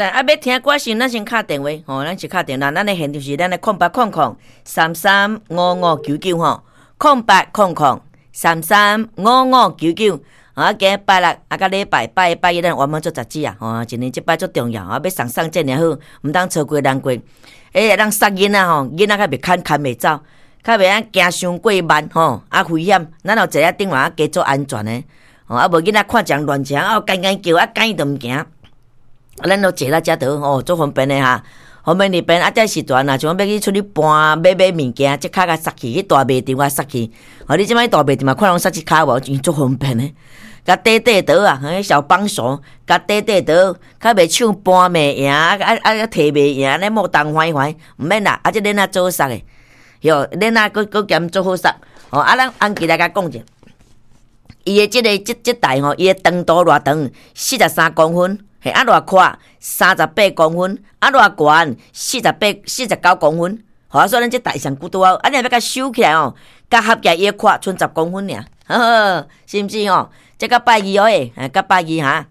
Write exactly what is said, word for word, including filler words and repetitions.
來啊，欲聽歌時，咱先敲電話吼，咱是敲電話，咱的現場是咱的空八空空三三五五九九吼，空八空空三三五五九九。啊，今日拜六啊，佮禮拜拜一拜一，咱圓滿做雜誌啊，吼，一年一擺足重要啊，欲送送這爾好，毋通錯過難過。欸，會當殺囡仔吼，囡仔較袂牽牽袂走，較袂按行傷過慢吼，啊危險。咱若坐佇頂嘛，加做安全的，吼，啊無囡仔看一人亂行，啊干干叫，啊趕伊就毋行。啊，咱都坐佇遮著吼，足方便的哈。方便入便啊，這時陣若像欲去出去搬買買物件，這跤共捒去去大賣場共捒去。吼，你這擺大賣場嘛，看攏捒這跤無，真足方便的。共綴綴桌啊，彼小幫手，共綴綴桌，較袂手搬袂贏，啊啊啊提袂贏，按呢莫東煩煩，毋免啦，啊這鏈仔做捒的，喲，鏈仔閣閣兼做好捒。吼，啊，咱安吉來共講者，伊的這个這這台吼，伊的長度偌長，四十三公分，嘿，啊偌闊，三十八公分，啊偌懸，四十八四十九公分。吼，所以咱這台上久拄好，啊你若欲共收起來吼，佮合起來伊的闊賰十公分爾，呵呵，是毋是吼？這較拜二哦，欸，較拜二哈。